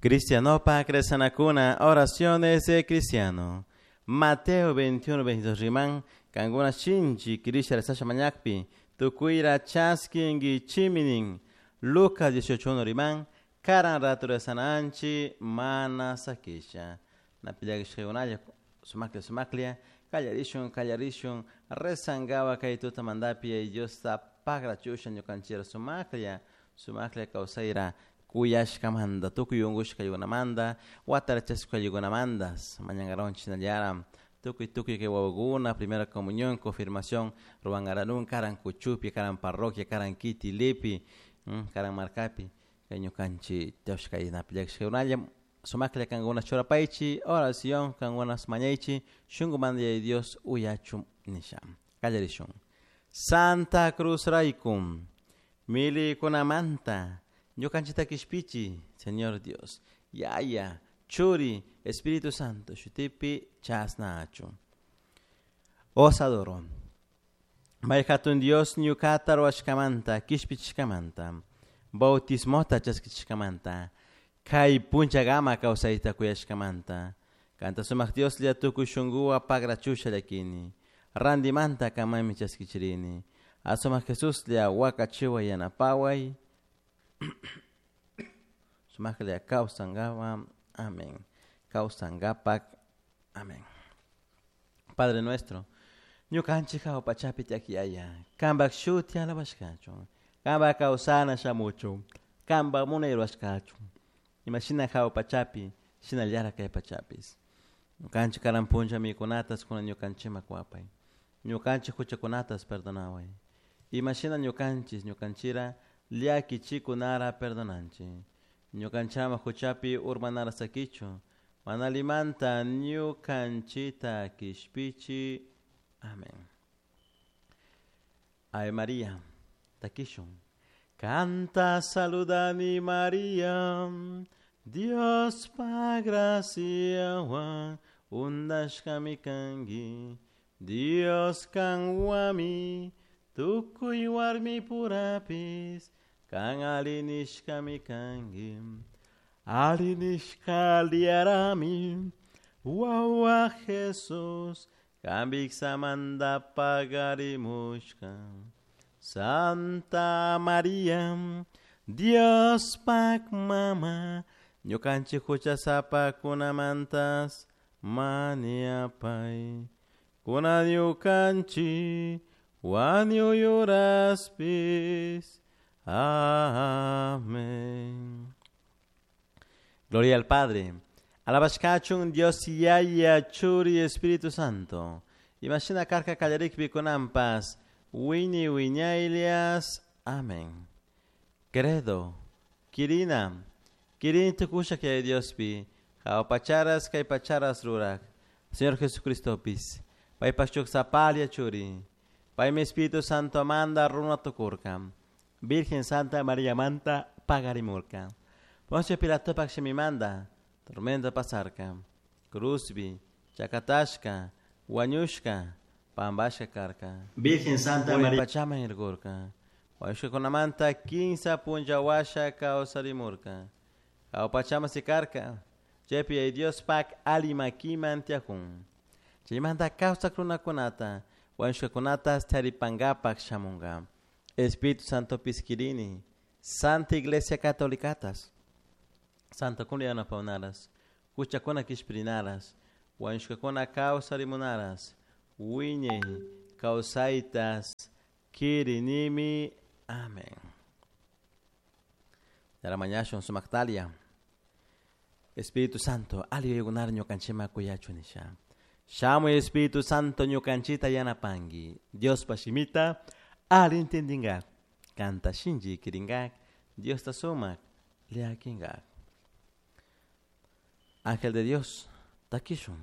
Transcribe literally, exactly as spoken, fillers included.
Cristianopa rezanakuna, oraciones de cristiano. Mateo veintiuno, veintidós riman, kankuna shinchi kirisha rezasha mañakpi, tukuyra chaskinkichiminin. Lucas dieciocho uno riman, karan ratu rezananchi mana sakisha. Napillakishkakunalla sumaklia sumaklia, kallarishun kallarishun, rezangawa kay tutamantapi Diosta pagrachusha ñukanchira sumaklia, sumaklia kawsayra kuyashkamanta, tukuy unkushkaykunamanta, watarachashkaykunamantas, mañankaronchik shinallara, tukuy tukuy kay wawakuna, primera comunión, confirmación, ruwankaranun, karan kuchupi, karan parroquia, karan kitilipi, karan markapi, kay ñukanchik tiyashkay napillakishkaykunalla, sumaklla kankuna churapaychik, oración kankuna mañaychik, shunkumanta Yaya Dios uyachun nisha. Kallarishun. Santa Cruz raykum, milikunamanta, ñukanchikta kishpichi, Señor Dios, Yaya, Churi, Espíritu Santo, shutipi chasnachu. Os adoro. May hatun Dios ñukata ruwashkamanta, kishpichishkamanta, bautismota chaskichishkamanta, kay punchagama kawsayta kuyashkamanta, kanta sumak Dios lla tukuy shunkuwa pagrachusha llakini, randimanta kamami chaskichirini, asumak Jesus lla wakachiwa yanapaway, sumaklla kawsankawa, amén. Kawsankapak, amén. Padre nuestro, ñukanchik hawa pachapi tiyak Yaya, kanpak shuti alabashkachun, kanpak kawsana shamuchun, kanpak munay rurashkachun, imashina hawa pachapi, shinallara kay pachapis. Ñukanchik karan puncha mikunatas kuna ñukanchikman kuwapay, ñukanchik huchakunatas perdonaway, imashina ñukanchik ñukanchira llakichikunara perdonanchik, ñukanchama huchapi urmanara sakichu, mana limanta ñukanchita kishpichi. Amén. Ave María, takishun. Canta saludani María, Dios pa gracia undashkami kanki, Dios kanwami, tukuy warmi purapis, kan alinishkami kanki, alinishka liarami, wawa Jesus, kambiksamanta pagarimushka. Santa María, Dios pak mama, ñukanchik huchasapakunamantas maniapay, kuna ñukanchik wañuyuraspis. Amén. Gloria al Padre. Alabashkachun Dios Yaya Churi Espíritu Santo. Imashina karka kallarikpi kunanpas, wini wiñaylias. Amén. Credo. Kirina. Kirini tukusha kay Diospi. Hawa pacharas kay pacharas rurak. Señor Jesucristopis. Paypak shuk sapalia churi. Paymi Espíritu Santo manda runa tukurka. Virgen Santa María manta pagarimurka. Poncio Pilatopak shimimanda. Tormenta pasarka. Cruzbi, chakatashka, wañushka, pambashka karka. Virgen Santa María. Pachama irgurka. Wañushkakunamanta kinsa punllawasha kawsarimurka. Hawa sikarka. Chaypi Yaya Dios pak alimakiman tiyakun. Chaymanta kawsak runakunata, wañushkakunata taripankapak shamunka. Espíritu Santo piskirini, Santa Iglesia Catolicatas, Santa kuna yanapawnaras, huchakuna kishpirinaras, wañushkakuna kawsarimunaras, wiñay kawsaytas kirinimi. Amén. Yaramañashun sumaktalia. Espíritu Santo, ali yuyaykunar ñukanchikman kuyachu nisha. Shamuy Espíritu Santo ñukanchita yanapanki. Diospa shimita ali entendingak. Kanta shinchi kiringak. Diosta sumak llakinkak. Ángel de Dios, takishun.